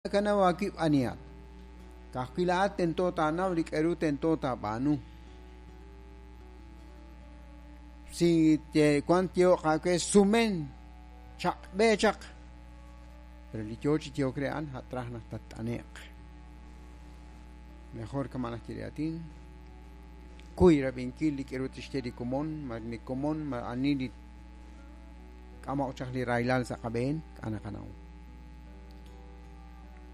Nakanaw aawib' anihat. Ka'ajwi' laa'at tento taanaw li k'a'ru tento taab'aanu. Si wan tyehoq aawe sumen, chaq'b'e chaq. Pero li yoo chi yehok re a'an, a' traj naq tatt'ane'q. Mejor kama' naq ye li aatin, kuy rab'inkil li k'a'ru tixye li komon, ma li komon, ma ani li k'amoq chaq li rahilal sa' qab'een, k'a' naqanaw.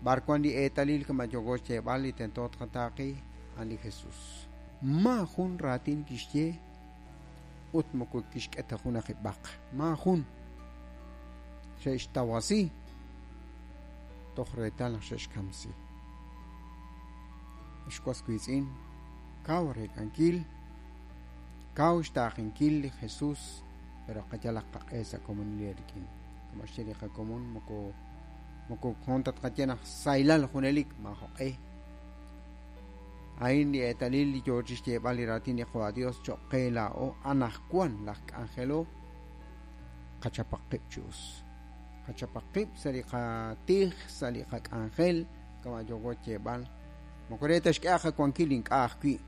B'ar wan li eetalil kama' yooko xyeeb'al li tento tqataaqi, a'an li Jesús. Maajun raatin kixye ut moko kixk'e ta junaq b'aq. Maajun. Xe'xtawasi toj reetal naq xe'xkamsi. Ex was wiitz'in, kaw reek'ankil, kaw xtaaqinkil li Jesús, pero qayalaq qaq'e sa' komonil eerik'in. Kama' xye li qakomon moko moko hoon ta tqaye naq sahilal junelik maajoq'e. A'in li eetalil li yoo chixyeeb'al li raatin li Qaawa' Dios choq' qe laa'o anaqwan laj k'anjelo qachapaq qib' chi us. Qachapaq qib' sa' li qatij, sa' li qak'anjel, kama' yooko xyeeb'al. Moko re ta xk'e qawankil ink'a' ajwi'.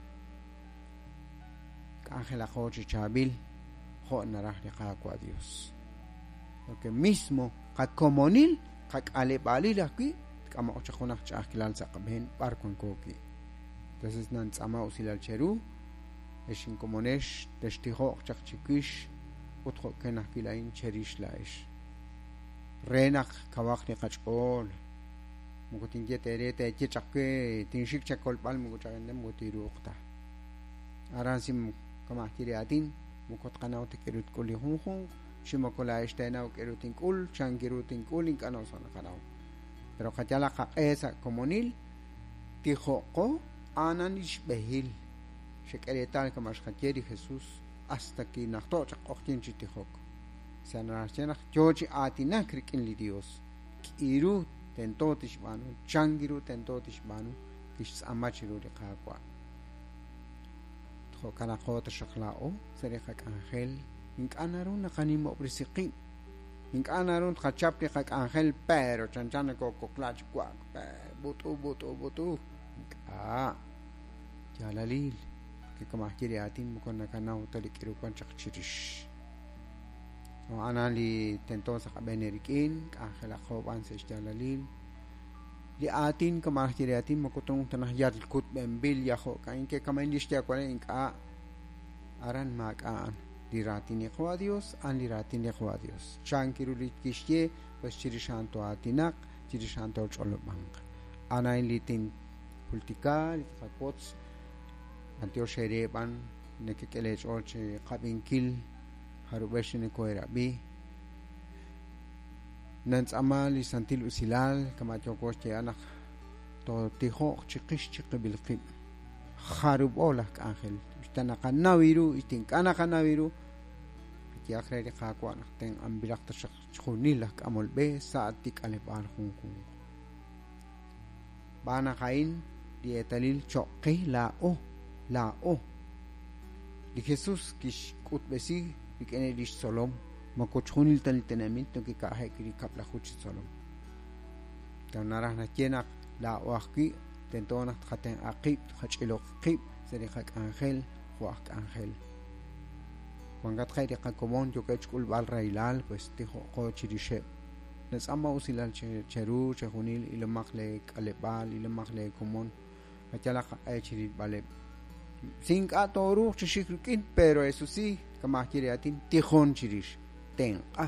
K'anjelaqo chi chaab'il jo' naraj li Qaawa' Dios. Porque mismo qakomonil, qak'aleb'aalil ajwi', tk'amoq chaq junaq ch'a'ajkilal sa' qab'een b'ar wanko wi'. Entonces nantz'aama usilal cheru, ex inkomonex textijo'q chaq chiwix ut jo'kan ajwi' laa'in cherix laa'ex. Re naq kawaq li qach'ool. Moko tinye teere teeye chaq we tinxik chakolb'al moko chaqende moko tiruuq ta. Aran si kama' ajye li aatin moko tqanaw ta k'aru tk'ul li junjunq, chi moko laa'ex teenaw k'aru tink'ul, chan kiru tink'ul, ink'a' naw sa' naqanaw. Pero qayalaq qaq'e sa' komonil, tijo'qo a'anan li xb'ehil. Xek'e reetal kama' xqaye li Jesús hasta kinajto' chaq q'oqyink chi tijok. Sa' naraj xye naq yoo chi aatinak rik'in li Dios. K'iru tento tixb'aanu, chan kiru tento tixb'aanu, kixtz'aama chiru li Qaawa'. Jo'kanaqo taxaq laa'o sa' li qak'anjel, ink'a' naru naqanimob'resi qib'. Ink'a' naru tqachap li qak'anjel, pero chanchan nakookoqla chi wa'ak, b'ut'u, b'ut'u, b'ut'u. Ink'a'. Yaalalil, porque kama' ajye li aatin moko nakanaw ta li k'aru wan chaq chirix. A'an li tento sa' qab'een eerik'in, k'anjelaqo b'an sa' xyaalalil. Li aatin kama' ajye li aatin moko tunq ta naq yal kutb'enb'il ya jo'ka'in ke kama'in li xyaawale ink'a'. Aran maak'a' a'an. Li raatin li Qaawa' Dios, a'an li raatin li Qaawa' Dios. Chan kiru li kixye, pues chirix a'an too'aatinaq, chirix a'an tooch'olob'anq. A'an a'in li tinjultika, li tqawotz, b'antiox eere b'an nekek'e leech'ool chi qab'inkil jarub'ex li nokoherab'i. Nantz'aama li santil usilal kama' yooko xyeeb'al naq tootijo'q chiqix chiqib'il qib'. Jarub'o laj k'anjel, usta naqanaw ru, usta ink'a' naqanaw ru, qayehaq re li Qaawa' naq tenq'anb'ilaq taxaq chixjunil laj k'amol b'e sa' tik'aleb'aal junjunq. Xb'aan naq a'in li eetalil choq' qe laa'o, laa'o. Li Jesús kixk'utb'esi rik'in lix tzolom, moko chixjunil ta li tenamit nokika'je'k li kab'laju chi tzolom. Ta naraj naxye naq laa'o ajwi' tento naq tqatenq'a qib', tqach'iloq qib' sa' li qak'anjel jo' aj k'anjel. Wankatqe' li qakomon yookeb' xk'ulb'al rahilal, pues tijo'qo chirixeb'. Natz'aama usilal cheru chejunil, ilomaq lee k'aleb'aal, ilomaq lee komon, qayalaq qaq'e chirilb'aleb'. Si ink'a' tooruuq chi xik rik'in, pero eso sí, kama' ajye li aatin, tijon chirix, tenq'a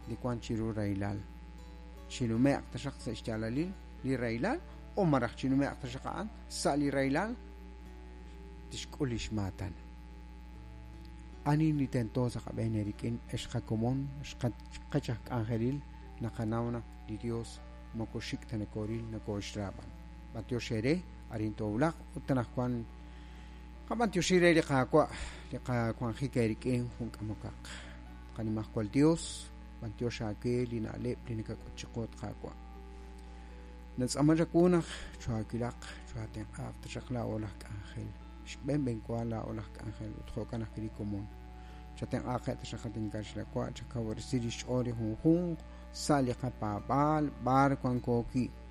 li wan chiru rahilal. Chinume'q taxaq sa' xyaalalil li rahilal o malaj chinume'q taxaq a'an sa' li rahilal tixk'ul lix maatan. Ani li tento sa' qab'een eerik'in, ex qakomon, ex qech aj k'anjelil, naqanaw naq li Dios moko xik' ta nokooril, nokooxra b'an. B'antiox eere, arin toowulaq ut anaqwan qab'antioxi re li Qaawa' li qawanjik eerik'in jun k'amokaq. Qanimajwal Dios, b'antiox aawe li na'leb' li nakak'ut chiqu, at Qaawa'. Natz'aama chawu naq chohaawilaq, chohaatenq'aaq taxaq laa'o laj k'anjel. Xb'een b'enwa laa'o laj k'anjel ut jo'kan ajwi' li komon. Chatenq'aaqeb' taxaq at inkaxlawa', chakawresi lix ch'ool li junjunq sa' li qapaab'aal b'ar wanko wi'.